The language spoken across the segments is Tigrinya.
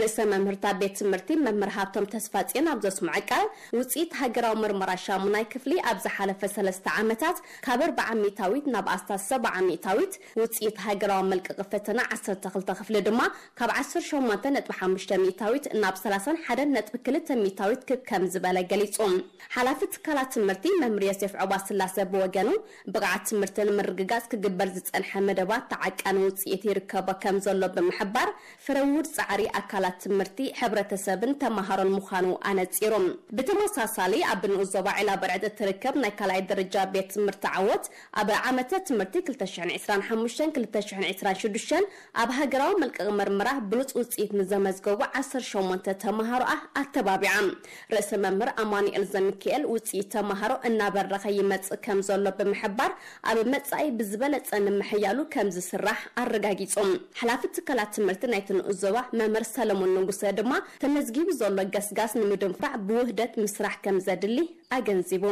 ርእሰ መምህርታ ቤት ትምህርቲ መምህር ሃብቶም ተስፋጽዮን ኣብ ዘስምዖ ቃል፣ ውጽኢት ሃገራዊ ምርመራ ሻሙናይ ክፍሊ ኣብ ዝሓለፈ ሰለስተ ዓመታት ካብ ኣርብዓ ሚእታዊት ናብ ኣስታት ሰብዓ ሚእታዊት፣ ውጽኢት ሃገራዊ መልቀቂ ፈተና ዓሰርተ ክልተ ክፍሊ ድማ ካብ ዓሰርተ ሸሞንተ ነጥቢ ሓሙሽተ ሚእታዊት ናብ ሰላሳን ሓደን ነጥቢ ክልተ ሚእታዊት ክብ ከም ዝበለ ገሊጹ። ሓላፊ ትካላት ትምህርቲ መምህር ዮሴፍ ዑባ ስላሰ ብወገኑ፣ ብቕዓት ትምህርቲ ንምርግጋጽ ክግበር ዝጸንሐ መደባት ተዓቃኒ ውጽኢት ይርከቦ ከም ዘሎ ብምሕባር፣ ፍረ ውሁድ ጻዕሪ ኣካላት ትምህርቲ፣ ሕብረተሰብን ተመሃሮን ምዃኑ ኣነጺሩ። ብተመሳሳሊ፣ ኣብ ንኡስ ዞባ ዒላ በርዕድ እትርከብ ናይ ካልኣይ ደረጃ ቤት ትምህርቲ ዓወት፣ ኣብ ዓመተ ትምህርቲ ክልተ ሽሕን ዕስራን ሓሙሽተን ክልተ ሽሕን ዕስራን ሽዱሽተን ኣብ ሃገራዊ መልቀቂ መርመራ ብሉጽ ውጽኢት ንዘመዝገቡ ዓሰርተ ሸሞንተ ተመሃሮኣ ኣተባቢዓ። ርእሰ መምህር ኣማኑኤል ዘሚካኤል፣ ውጽኢት ተመሃሮ እናበረኸ ይመጽእ ከም ዘሎ ብምሕባር፣ ኣብ መጻኢ ብዝበለጸ ንምሕያሉ ከም ዝስራሕ ኣረጋጊጾም። ሓላፊ ትካላት ትምህርቲ ናይቲ ንኡስ ዞባ መምህር ሰለሞን ንጉሰ ድማ፣ ተመዝጊቡ ዘሎ ገስጋስ ንምድንፋዕ ብውህደት ምስራሕ ከም ዘድሊ ኣገንዚቡ።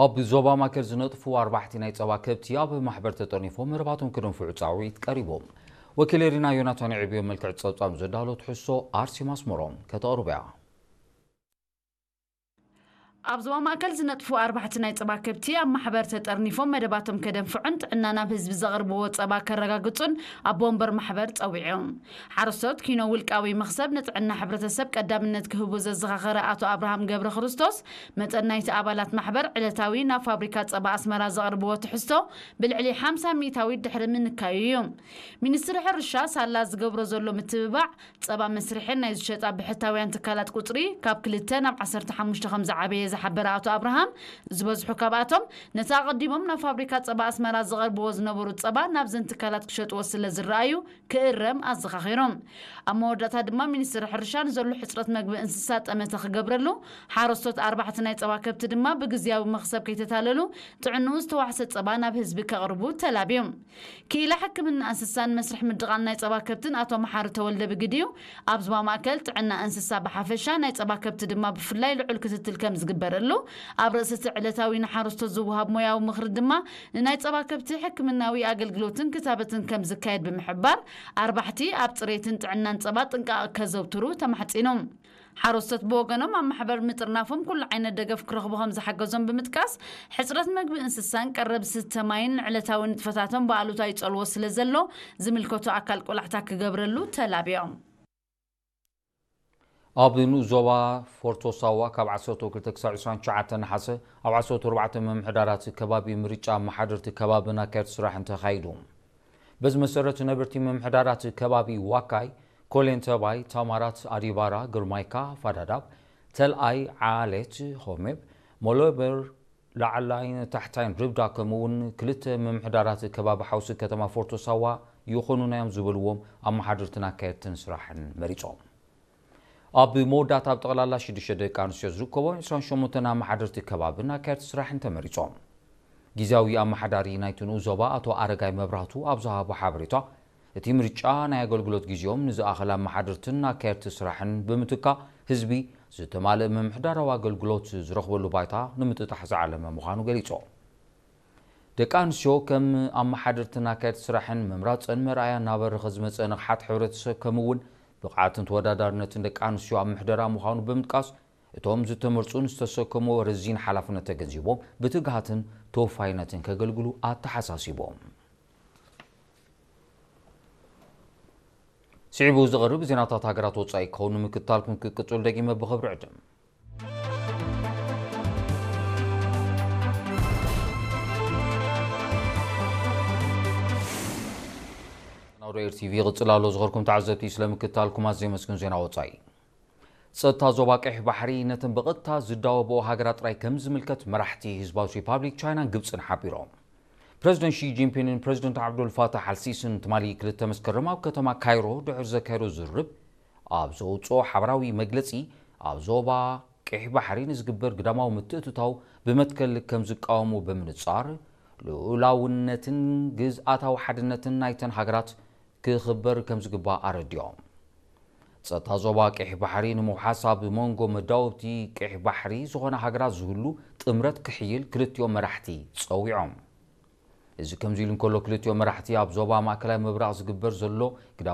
ኣብ ዞባ ማእከል ዝነጥፉ ኣርባሕቲ ናይ ጸባ ከብቲ ኣብ ማሕበር ተጠርኒፎም መረባቶም ክደንፍዑ ጻውዒት ቀሪቦም። ወኪል ኤሪና ዮናታን የዕብዮ መልክዕ ጸብጻብ ዘዳሎ ትሕዝቶ ኣርሴማ ኣስመሮም ከተቕርብ እያ። ኣብ ዞባ ማእከል ዝነጥፉ ኣርባሕቲ ናይ ጸባ ከብቲ ኣብ ማሕበር ተጠርኒፎም መደባቶም ከደንፍዑን ጥዕና ናብ ህዝቢ ዘቕርብዎ ጸባ ከረጋግጹን ኣቦ ወንበር ማሕበር ጸዊዑ። ሓረስቶት ኪኖ ውልቃዊ መኽሰብ ንጥዕና ሕብረተሰብ ቀዳምነት ክህቡ ዘዘኻኸረ ኣቶ ኣብርሃም ገብረ ክርስቶስ፣ መጠን ናይቲ ኣባላት ማሕበር ዕለታዊ ናብ ፋብሪካ ጸባ ኣስመራ ዘቕርብዎ ትሕዝቶ ብልዕሊ ሓምሳ ሚእታዊት ድሕሪ ምንካዩ እዩ። ሚኒስትሪ ሕርሻ ሳላ ዝገብሮ ዘሎ ምትብባዕ ጸባ መስርሕን ናይ ዝሸጣ ብሕታውያን ትካላት ቁጽሪ ካብ ክልተ ናብ ዓሰርተ ሓሙሽተ ከም ዝዓበየ ዝሓበረ ኣቶ ኣብርሃም፣ ዝበዝሑ ካብኣቶም ነቲ ኣቐዲሞም ናብ ፋብሪካ ጸባ ኣስመራ ዝቐርብዎ ዝነበሩ ጸባ ናብዘን ትካላት ክሸጥዎ ስለ ዝረኣዩ ክእረም ኣዘኻኺሮም። ኣብ መወዳእታ ድማ ሚኒስትሪ ሕርሻ ንዘሎ ሕጽረት መግቢ እንስሳ ጠመተ ክገብረሉ፣ ሓረስቶት ኣርባሕቲ ናይ ጸባ ከብቲ ድማ ብግዝያዊ መኽሰብ ከይተታለሉ ጥዕንኡ ዝተዋሕሰ ጸባ ናብ ህዝቢ ከቕርቡ ተላብዮም። ክኢላ ሕክምና እንስሳን መስርሕ ምድቓል ናይ ጸባ ከብትን ኣቶ መሓሪ ተወልደ ብግዲኡ፣ ኣብ ዞባ ማእከል ጥዕና እንስሳ ብሓፈሻ ናይ ጸባ ከብቲ ድማ ብፍላይ ልዑል ክትትል ከም ዝግበረሉ፣ ኣብ ርእሲ እቲ ዕለታዊ ንሓረስቶት ዝወሃብ ሞያዊ ምኽሪ ድማ ንናይ ጸባ ከብቲ ሕክምናዊ ኣገልግሎትን ክታበትን ከም ዝካየድ ብምሕባር፣ ኣርባሕቲ ኣብ ጽሬትን ጥዕናን ጸባ ጥንቃቐ ከዘውትሩ ተማሕጺኑ። ሓረስቶት ብወገኖም ኣብ ማሕበር ምጥርናፎም ኩሉ ዓይነት ደገፍ ክረኽቡ ከም ዝሓገዞም ብምጥቃስ፣ ሕጽረት መግቢ እንስሳን ቀረብ ዝስተ ማይን ንዕለታዊ ንጥፈታቶም ብኣሉታ ይጸልዎ ስለ ዘሎ፣ ዝምልከቶ ኣካል ቆላሕታ ክገብረሉ ተላብዮም። ኣብ ንኡስ ዞባ ፎርቶ ሳዋ ካብ ዓሰርተ ክልተ ክሳብ ዕስራን ትሽዓተን ነሓሰ ኣብ ዓሰርተ ኣርባዕተ ምምሕዳራት ከባቢ ምርጫ ኣመሓደርቲ ከባብን ኣካየድቲ ስራሕን ተኻይዱ። በዚ መሰረት ነበርቲ ምምሕዳራት ከባቢ ዋካይ፣ ኮሌንተባይ፣ ታማራት፣ ኣዲባራ፣ ግርማይካ፣ ፋዳዳብ፣ ተልኣይ፣ ዓሌት፣ ሆሜብ፣ ሞሎበር፣ ላዕላይን ታሕታይን ርብዳ ከምኡ እውን ክልተ ምምሕዳራት ከባቢ ሓውሲ ከተማ ፎርቶ ሳዋ ይኾኑና እዮም ዝበልዎም ኣመሓደርትን ኣካየድትን ስራሕን መሪጾም። ኣብ መወዳእታ ኣብ ጠቕላላ ሽዱሽተ ደቂ ኣንስትዮ ዝርከቦም ዕስራን ሸሞንተን ኣመሓደርቲ ከባብን ኣካየድቲ ስራሕን ተመሪጾም። ግዝያዊ ኣመሓዳሪ ናይቲ ንኡስ ዞባ ኣቶ ኣረጋይ መብራህቱ ኣብ ዝሃቦ ሓበሬታ፣ እቲ ምርጫ ናይ ኣገልግሎት ግዜኦም ንዝኣኸለ ኣመሓደርትን ኣካየድቲ ስራሕን ብምትካእ ህዝቢ ዝተማልአ ምምሕዳራዊ ኣገልግሎት ዝረኽበሉ ባይታ ንምጥጣሕ ዝዓለመ ምዃኑ ገሊጾም። ደቂ ኣንስትዮ ከም ኣመሓደርትን ኣካየድቲ ስራሕን ምምራጸን መርኣያ እናበረኸ ዝመጸ ንቕሓት ሕብረተሰብ ከምኡ እውን ብቕዓትን ተወዳዳርነትን ደቂ ኣንስትዮ ኣብ ምሕደራ ምዃኑ ብምጥቃስ፣ እቶም ዝተመርጹ ንዝተሰከምዎ ረዚን ሓላፍነት ተገንዚቦም ብትግሃትን ተወፋይነትን ከገልግሉ ኣተሓሳሲቦም። ስዒቡ ዝቐርብ ዜናታት ሃገራት ወጻኢ ክኸውን ንምክትታልኩም ክቅጽል ደጊመ ብኽብሪ ዕድም። ናውዶ ኤር ቲቪ ይቕጽል ኣሎ። ዝኸርኩም ተዓዘብቲ ስለምክትታልኩም ኣዝየ መስግን። ዜና ወጻኢ። ጸጥታ ዞባ ቀይሕ ባሕሪ ነተን ብቐጥታ ዝዳወብኦ ሃገራት ጥራይ ከም ዝምልከት መራሕቲ ህዝባዊት ሪፓብሊክ ቻይናን ግብጽን ሓቢሮም። ፕረዚደንት ሺ ጂንፒንግን ፕረዚደንት ዓብዱል ፋታሕ ኣልሲስን ትማሊ ክልተ መስከረም ኣብ ከተማ ካይሮ ድሕሪ ዘካየዶ ዝርርብ ኣብ ዘውጽኦ ሓበራዊ መግለጺ፣ ኣብ ዞባ ቀይሕ ባሕሪ ንዝግበር ግዳማዊ ምትእትታው ብመትከል ከም ዝቃወሙ ብምንጻር፣ ልኡላውነትን ግዝኣታዊ ሓድነትን ናይተን ሃገራት ክኽበር ከም ዝግባእ ኣረዲኦም። ጸጥታ ዞባ ቀይሕ ባሕሪ ንምውሓስ ኣብ መንጎ መዳወብቲ ቀይሕ ባሕሪ ዝኾና ሃገራት ዝህሉ ጥምረት ክሕይል ክልቲኦም መራሕቲ ጸዊዖም። እዚ ከምዚ ኢሉ እንከሎ፣ ክልቲኦም መራሕቲ ኣብ ዞባ ማእከላይ ምብራቕ ዝግበር ዘሎ